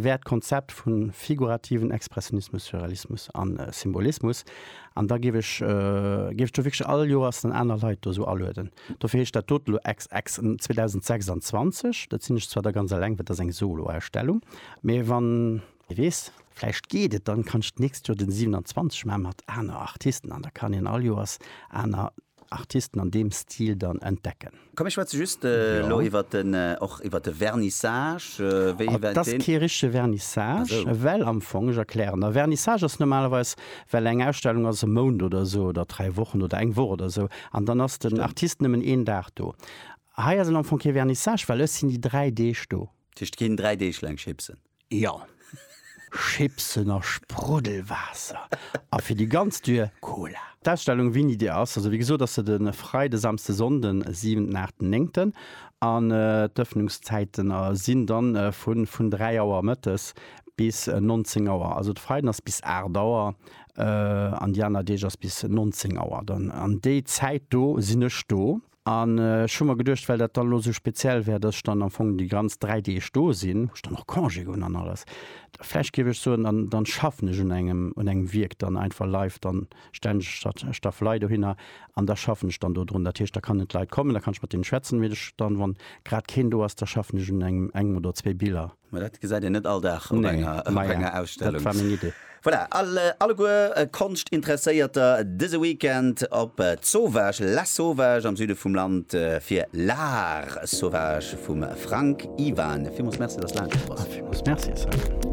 Wär d'Konzept vu figurativen Expressionismus, Surrealismus a Symbolismus. An da géif ech, géif ech do wierklech all Joers dann aner Leit do esou alueden. Dofir heescht dat doten elo XX 2026. Dat sinn ech zwar da ganz eleng, well dat ass eng Solo-Ausstellung. Mee wann, wie weess, vläicht geet et, dann kann ech d'nächst Joer den 27 maache mat aner Artisten an da kann een all Joers aner Artisten an deem Stil dann entdecken. Komm mir schwätze just elo iwwert den, och iwwert de Vernissage. Wéi war deen? Et ass kee richtege Vernissage, well am Fong, ech erklären der, Vernissage ass normalerweis, well eng Ausstellung ass e Mount oder esou oder 3 Wochen oder eng Woch oder esou an dann ass den Artist nëmmen een Dag do. Hei ass et am Fong kee Vernissage, well ech sinn déi 3 Deeg do. Dat heescht keen 3 Deeg laang Chipsen? Jo, Chipsen a Spruddelwaasser a fir déi ganz Duer Cola. D'Ausstellung Wini dir ass, also wéi gesot ass se de Freide, Samsde, Sonnden, siwenten, aachten, néngten an d'Ëffnungszäiten sinn dann vu vun 3 Auer mëttes bis 19 Auer. Also de Freiden ass bis 8 Auer an déi aner Deeg ass bis 19 Auer dann. An déi Zäit do sinn ech do. An ech hu mer geduecht, well dat dann elo esou speziell wär, dass ech dann am Fong déi ganz 3 Deeg do sinn, wou ech dann och Congé hunn an alles, vläicht géif ech soen, dann, dann schaffen ech un engem, un engem Wierk dann einfach live, dann stellen ech dat Staffelei dohinner an da schaffen ech dann do drun. Dat heescht, da kënnen d'Leit kommen, da kann ech mat deenen schwätzen, mee ech dann, wann grad keen do ass, da schaffen ech un engem, engem oder zwee Biller. Ma dat gesäit een net all Dag op enger Ausstellung. Dat war meng Idee. Voilà, alleguer Konschtinteresséierter dëse Weekend op d'Sauvage, La Sauvage am Süde vum Land fir L'Art Sauvage vum Frank Iwan. Villmools Merci, dass de laanscht komm bass. Villmools Merci, Simon.